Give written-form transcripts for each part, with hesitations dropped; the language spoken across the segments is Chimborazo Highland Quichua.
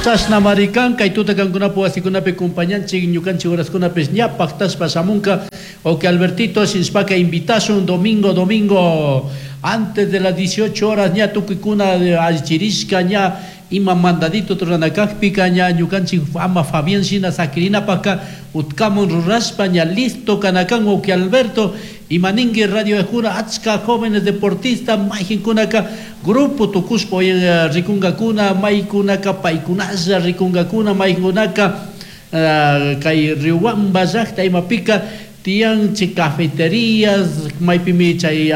Chashnamari kan, kay tuta kankunapak wasikunapi compañanchik ñukanchik horaskunapish ña paktashpa shamunka. Ok, Albertito, shinashpaka invitashun domingo, domingo, antes de las 18 horas ña tukuykuna allichirishka ña ima mandadito rurana kakpika ña ñukanchik ama Fabián shina sakirinapaka utkamun rurashpa ña listo kana kan. Ok, Alberto, ima ninki Radio Ejura achka jóvenes deportistas mayjinkunaka grupo tukushpa rikunkakuna, maykunaka paykunalla rikunkakuna, maykunaka kay Riobamba llakta imapika tiyan chay cafeterías maypimi chay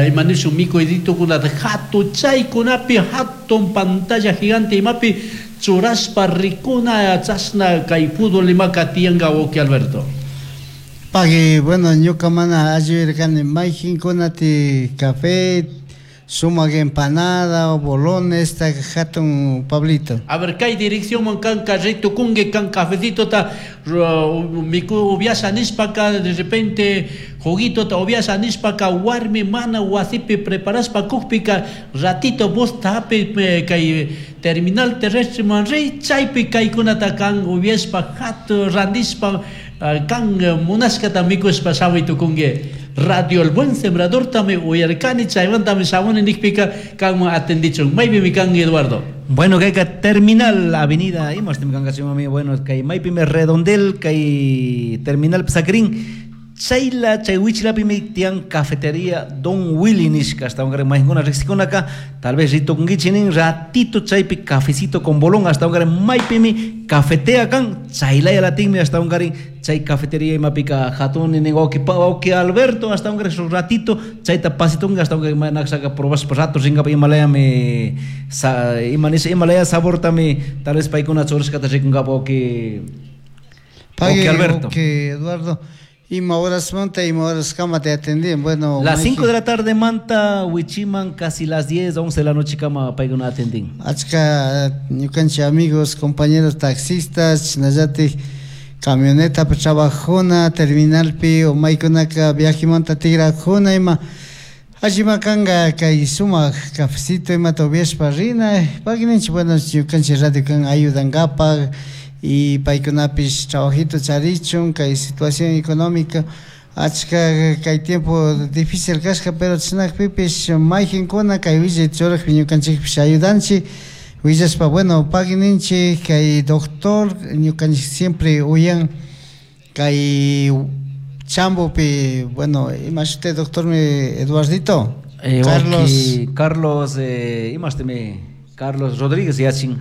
ima nishun mikuyditukunata hatun chaykunapi hatun pantalla gigante imapi churashpa rikuna chashna kay fútbol imaka tiyanka, wawki Alberto. Pagui, bueno, ñuka mana alli mayjinkunati café, sumak empanada o bolones, ta hatun, Pablito. A ver, kay dirección kan carrito kungue kan cafecito ta miku ubiasha nishpaka, de repente juguito ta ubiasha nishpaka, warmi mana wasipi preparashpa kukpika, ratito bus tapi kay terminal terrestre man ri chaypi kaykunata kan ubiashpa hatu randishpa kan munashkata mikushpa shamuy tukunki. Radio El Buen Sembrador tami uyarkani, chaymantami shamuni nikpika kanman atendichun. Maypimi kan, Eduardo? Bueno, kayka terminal avenida imashtim kankachimami. Bueno, kay maypimi redondel kay terminal Pisakrin chayla chay wichlapimi tiyan cafetería Don Willy nishka. Hasta mayjuna riqsikunaka tal vez ritukunkichik nin ratito chaypi cafecito con bolón. Hasta maypimi cafetea kan chaylaya latinmi. Hasta chay cafetería imapika hatun nin wawqi wawqi Alberto. Hasta shuk ratito chayta pasitunka. Hasta manakshaka probashpa rato rinkapa imalayami sa, ima nisha imalaya sabortami tal vez paykuna churashkata rikunkapa, wawqi Pagui, Alberto. Wawqi Eduardo, ima horasmanta ima horaskama te atendían? Bueno, las 5 de la tarde manta wichiman casi las 10, 11 de la noche kama paykuna atendín. Achka ñukanchik amigos, compañeros taxistas, chinallatik camioneta trabajuna terminalpi o maykunaka viajemanta tigrakuna ima allima kanga kay sumak cafecito imata upiashpa rina. Pagui ninchik, bueno, ñukanchik radio kan ayudankapak y paykunapish trabajito charichun. Kay situación económica achka kay tiempo difícil kashka, pero chinakpipish mayjinkuna kay willay churakpi ñukanchikpish ayudanchik willashpa. Bueno, pagui ninchik kay doctor ñukanchik siempre uyan kay Chambopi. Bueno, ima shuti doctormi, Eduardito? Carlos Carlos imashtimi Carlos Rodríguez yachin.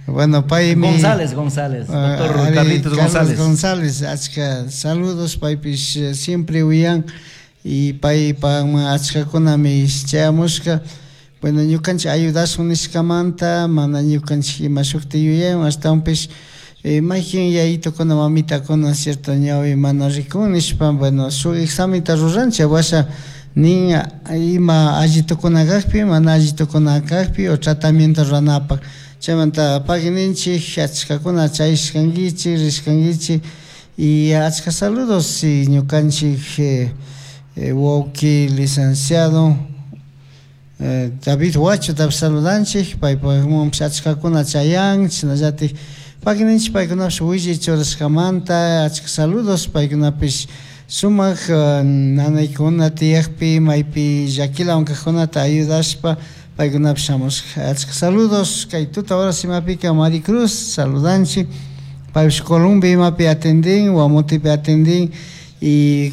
Bueno, paymi González, González, doctor ari, Carlitos Carlos González. González, achka saludos, paypish siempre uyan y paypa achkakunami chayamushka. Bueno, ñukanchik ayudashun nishkamanta mana ñukanchik ima shukti yuyawan, ashtawanpish mayjin yayitukuna mamitakuna cierto ñawi mana rikun nishpa, bueno, shuk examenta ruranchik, washa nin ima alli tukuna kakpi mana alli tukuna kakpi o tratamiento ruranapak. Chaymanta pagui ninchik achkakuna chayashkankichik rishkankichik y achka saludos y ñukanchik wawqi licenciado David Huachotapish saludanchik, paypakmanpish achkakuna chayan. Chashnallatik pagui ninchik paykunapish willay churashkamanta achka saludos. Paykunapish sumak nanaykuna tiyakpi maypi llakilawan kajkunata ayudashpa paykunapish shamushka. Achka saludos kay tuta horas imapika Maricruz saludanchik, paypish Colombia imapi atendin, Guamotepi atendin y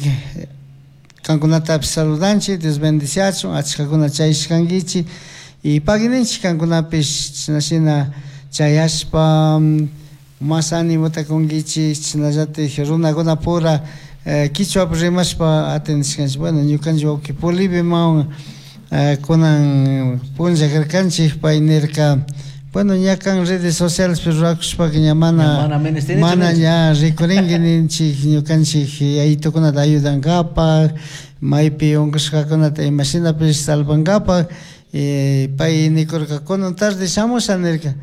kankunatapish saludanchik. Dios bendiciachun, achkakuna chayashkankichik y pagui ninchik kankunapish chashnashina chayashpa mas animota kunkichik. Chashnallatik runakunapura kichwapi rimashpa atendishkanchik. Bueno, ñukanchik wawqi Polibiman kunan punlla karkanchik, pay nirka, bueno, ña kan redes sociales rurakushpaka ña mana mana menestenichu mana ninchik. Ña rikurinki ninchik ñukanchik yayitukunata ayudankapak maypi unkushkakunata imashinapish salvankapak. Pay nikurka kunan tarde shamusha nirka.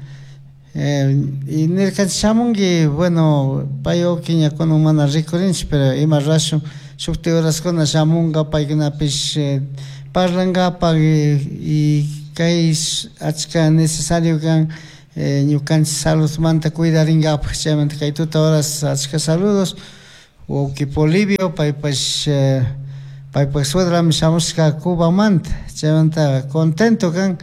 Y nirkanchik shamunki. Bueno, pay wawqi ña kunan mana rikurinchik, pero ima rurashun shukti horaskuna shamunka paykunapish parlankapak y kay achka necesario kan. Ñukanchik saludmanta cuidarinkapak. Chaymanta kay tuta horas achka saludos. Wawki Polibio paypash paypak suegrami shamushka Cubamanta, chaymanta contento kan,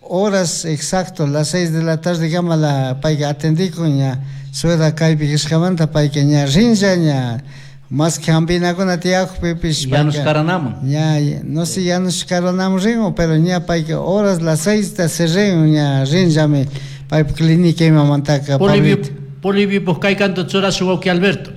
horas exacto las 6 de la tarde kamala payka atendikun, ña suegra kaypi kashkamanta payka ña rinlla, ña más que hampinakuna tiyakpipish. Yanush karanaman. Ña no sé yanush karanaman rin, pero ña payka horas las 6 ta se rin, ña rinllami paypa clínica imamantaka. Polibio, Polibio, pues kay canto churashun wawki Alberto.